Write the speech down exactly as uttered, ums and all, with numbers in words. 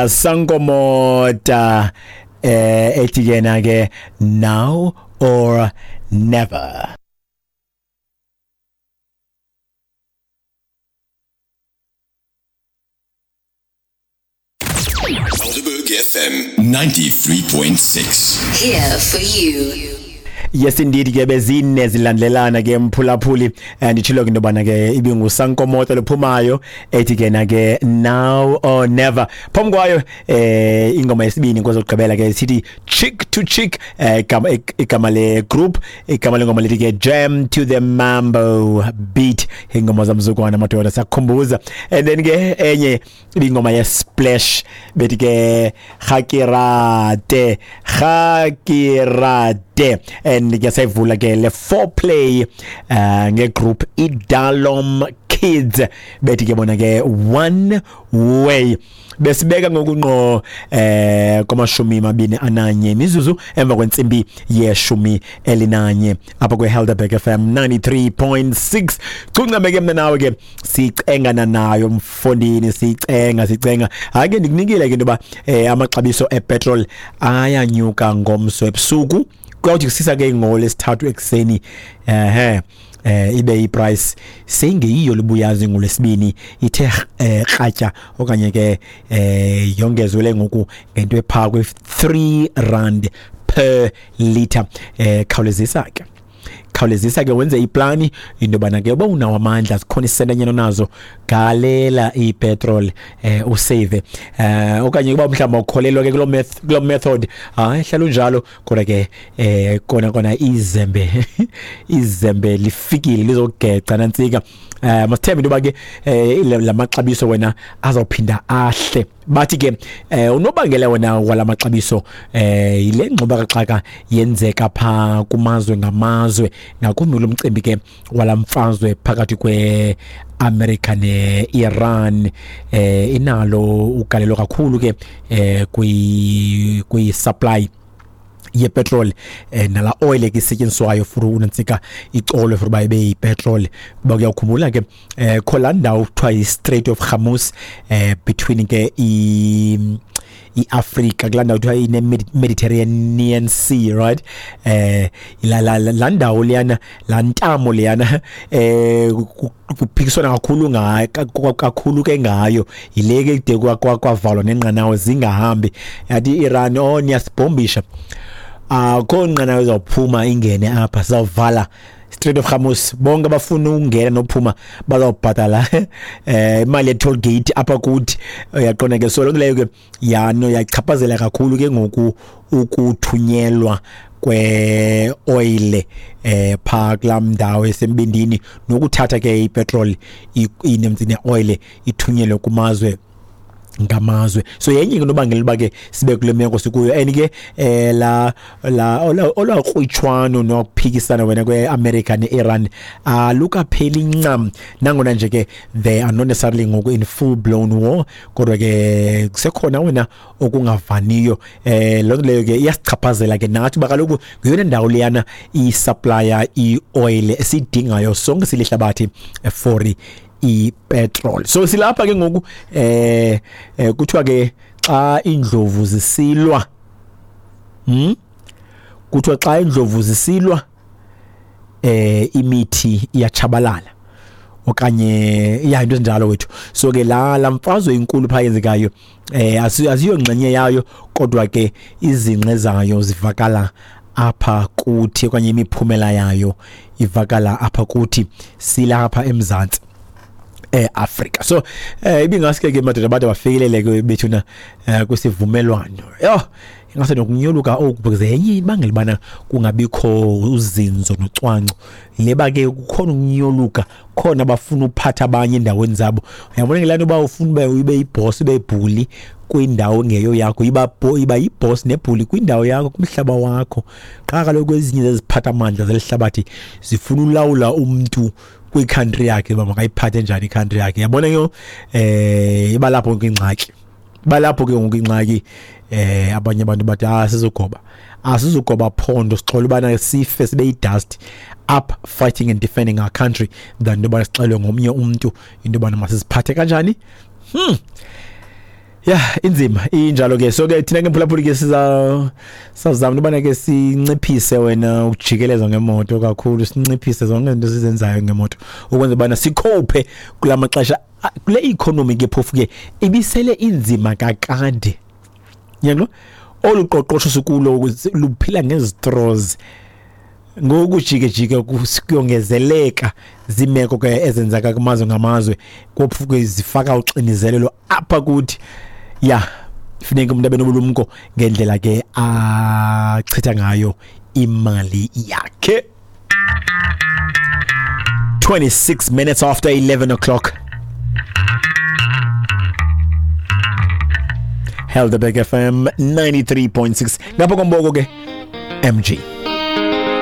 Sankomota eh ethi yena ke Now or Never. Helderberg F M ninety-three point six. Here for you. Yes indeed ke bezine zilandelana ke mphulaphuli, nditshilo ke intobana ke ibinguSankomota lophumayo ethi ke na ke Now or Never. Phambi kwayo eh ingoma yesibini kwezokugqibela ke sithi Chick to Chick, eh igama le group, igama lengoma lithi ke Jam to the Mambo Beat, ingoma zamzukwana madoda siyakukhumbuza. And then ke enye ibingoma ye Splash bethi ke Hakirate Hakirate. And ke sayivula ke le foreplay uh, ngegroup iDalom Kids bethi ke bona ke One Way. Besibeka ngokunqo eh kwamashumi mabini ananye mizuzu emva kwentsimbi yeshumi elinanye apha kweHelderberg F M ninety-three point six. Cuncame ke mna nawe ke sicengana nayo mfondini, sicenga sicenga. Hayi ke ndikunikile ke into yoba eh amaxabiso epetrol ayanyuka ngomso ebusuku, kuyawuthi kusisa ke ngolwesithathu ekuseni ehe eh ibe iprice seyingeyiyo libuyazi ngolwesibini ithe kratya okanye ke eh yongezwe ngoku ngento epha kwe three rand per liter. Eh khawulezisa ke khawulezisa ke wenze iplani into bana ke uba unawo amandla zikhona isentanyana nazo galela ipetrol eh usave eh okanye kuba mhlawumbe ukholelwa ke kulo kulo method, hayi hlala unjalo. Kodwa ke eh kona kona izembe izembe lifikile lizogeca nantsika. Eh masithembe into ba ke lamaxabiso wena azawuphinda ahle. Bathi ke eh unobangela wena walamaxabiso eh ile ngxuba kaxaka yenzeka pha kumazwe ngamazwe, ngakumbi lo mcimbi ke walamfazwe phakathi kwe America ne-Iran eh inalo ugalelo kakhulu ke eh kwi kwi supply yepetrol eh nala oil ke isetyenziswayo for unantsika icolo for uba ibe yipetrol. Kuba kuyawukhumbula ke eh kho ndawo kuthiwa yi-Strait of Hormuz eh between ke i iAfrika kulaa ndawo kuthiwa ine-Mediterranean Sea, right? Eh la la la ndawo leyana la ntamo leyana eh kuphikiswana kakhulu ngayo kakhulu ke ngayo yile ke kude kwavalwa nenqanawe zingahambi. Yathi iIran oh niyasibhombisha, akho nqanawe izawuphuma ingene apha, sizawuvala Strait of Hormuz, bonke abafuna ukungena nophuma bazawubhatala eh imali ye-toll gate apha kuthi. Uyaqonda ke, so loo nto leyo ke yano yachaphazela kakhulu ke ngoku ukuthunyelwa kwe-oil eh pha kulaa ndawo esembindini, nokuthatha ke ipetrol ne-oil ithunyelwe kumazwe ngamazwe. So yenye into obangela uba ke sibe kule meko sikuyo. And ke eh la la olwakrwitshwano nokuphikisana wena kwe-America ne-Iran alukapheli ncam, nangona nje ke they are not necessarily ngoku in full blown war, kodwa ke kusekhona wena okungavaniyo. Eh loo nto leyo ke iyasichaphazela ke nathi uba kaloku ngeyona ndawo leyana isupplier i-oil esiyidingayo sonke silihlabathi for ipetrol. So silapha ke ngoku eh kuthiwa ke xa indlovu zisilwa, hm kuthiwa xa indlovu zisilwa eh imithi iyatshabalala okanye iya into ezinjalo wethu. So ke la lamfazwe inkulu pha yenzekayo eh aziyo ngxenye yayo, kodwa ke izinqe zayo zivakala apha kuthi okanye imiphumela yayo ivakala apha kuthi silapha eMzantsi eAfrika. So eh ibingaske ke madoda bade bafikelele ke bethuna kwisivumelwano. Yo ingase nokunyoluka oku because yenye ibangela bana kungabikho uzinzo nocwangco leba ke kukhona ukunyoluka, khona abafuna uphatha abanye endaweni zabo. Uyabona ngelani uba ufuna ube ube iboss ube ibhuli kwindawo engeyo yakho, iba iba iboss nebhuli kwindawo yakho kumhlaba wakho. Qha kaloku ezinye zeziphatha amandla zelihlabathi zifuna ulawula umuntu kwicountry yakhe uba makayiphathe njani icountry yakhe. Yabona ke eh iba lapho ke ingxaki, balapho ke ngoku ingxaki. Eh abanye abantu bathi ah sizogoba asizogoba phondo sixola ubana sife sibe idust up fighting and defending our country than into yoba sixelwe ngomnye umuntu into yobana masiziphathe kanjani. Hmm. Ya, inzima injalo ke. So ke thina ke mphulaphuli ke siza sazama ubana ke sinciphise wena ukujikeleza ngemoto kakhulu, sinciphise zonke izinto sizenzayo ngemoto ukwenza bana sikhophe kulamaxesha kule economy ke phofu ke ibisele inzima kakade. Yebo, oluqoqosho sikulo luphila ngezistraws. Ngoku jike jike kuyongezeleka zimeko ke ezenzeka kumazwe ngamazwe, kopfu ke zifaka uxinizelelo apha kuthi. Ya, funeka umuntu abe nobulumko ngendlela ke achitha ngayo imali yakhe. twenty-six minutes after eleven o'clock. Helderberg F M ninety-three point six. Ngapha komboko ke M G.